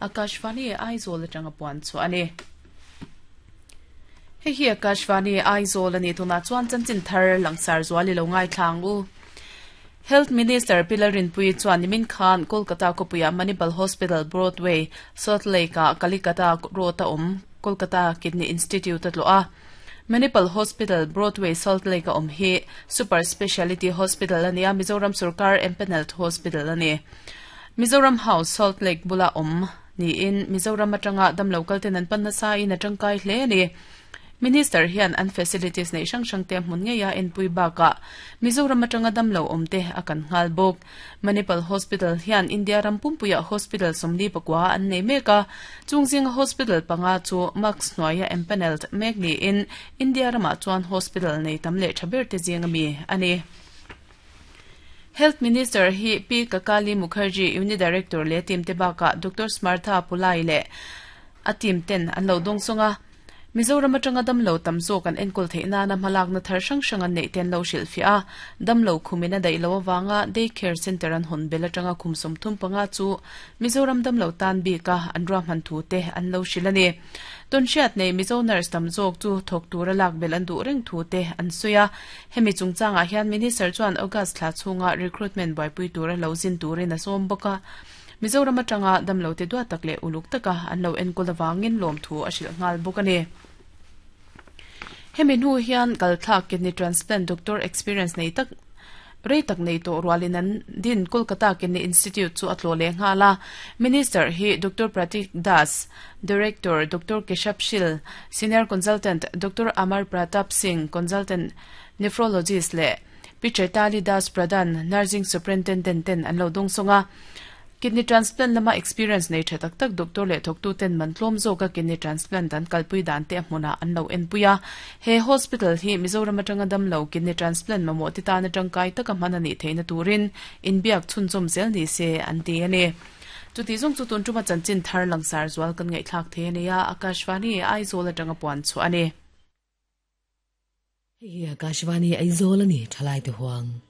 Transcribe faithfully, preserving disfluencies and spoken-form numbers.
Akashvani Aizawl atanga puan chu ani. Hei hi Akashvani Aizawl ani tuna chuan chanchin thar langsar zuali lo ngai thlang u. Health Minister Pilar Rinpui chuan nimin khan Kolkata Kopuya Manipal Hospital Broadway Salt Lake a Kalikata Road a awm Kolkata Kidney Institute atlo a. Manipal Hospital Broadway Salt Lake a awm hi Super Speciality Hospital ania Mizoram Sarkar Empanelled Hospital ani. Mizoram House Salt Lake bula awm ni in Mizoram atanga dam local ten an panna sa in atangkai hle ani. Minister hian an facilities nei sang sang te hmun nge ya en pui baka Mizoram atanga damlo omte akan ngal bok. Manipal Hospital hian India rampumpuya hospital somli pakwa an nei meka chungjing hospital panga chu max noya empanelled mek ni in India rama chuan hospital nei tamle thaber te jinga mi ani. Health Minister hi P Kakali Mukherjee Unit Director le team te baka Doctor Smartha Pulai le atim ten an lo dong songa Mizoram atanga damlo tamzo kan enkol theina na malak na thar sang sang an nei ten lo sil fia damlo khumina dai lo wanga day care center an hon bela tanga khumsum thum panga chu Mizoram damlo tan bi ka an ram han thu te an lo silani ton siat nei Mizo nurse tamzok chu thok tura lak bel an du reng thu te an suya hemi chungchanga hian minister chuan August thla chunga recruitment bai pui tura lo zin turin a som boka Mizoram atanga damlo te dua takle uluk taka an lo enkol awangin lom thu a sil ngal bokani. Hemi nu hian kalthla kidney transplant doctor experience nei tak rei tak nei to rualin an din Kolkata Kidney Institute chu atlo le ngala. Minister hi Doctor Pratik Das, Director Doctor Keshab Shil, Senior Consultant Doctor Amar Pratap Singh, Consultant Nephrologist le Pichaitali Das Pradhan, Nursing Superintendent ten an lo dong songa. Kidney transplant lama experience nei tha tak tak doctor le thok tu ten man tlom zo ka kidney transplant an kalpui dan te hmuna an lo en puya. He hospital hi Mizoram atanga dam lo kidney transplant mamo ti ta na tangkai taka manani theina turin inbiak chunchom zel ni se an ti ani. Chuti zong chu tun tuma chanchin thar langsar zual kan ngai thlak the ne ya Akashvani Aizawl atanga puan chu ani. Hi Akashvani Aizawl ani thalai te huang.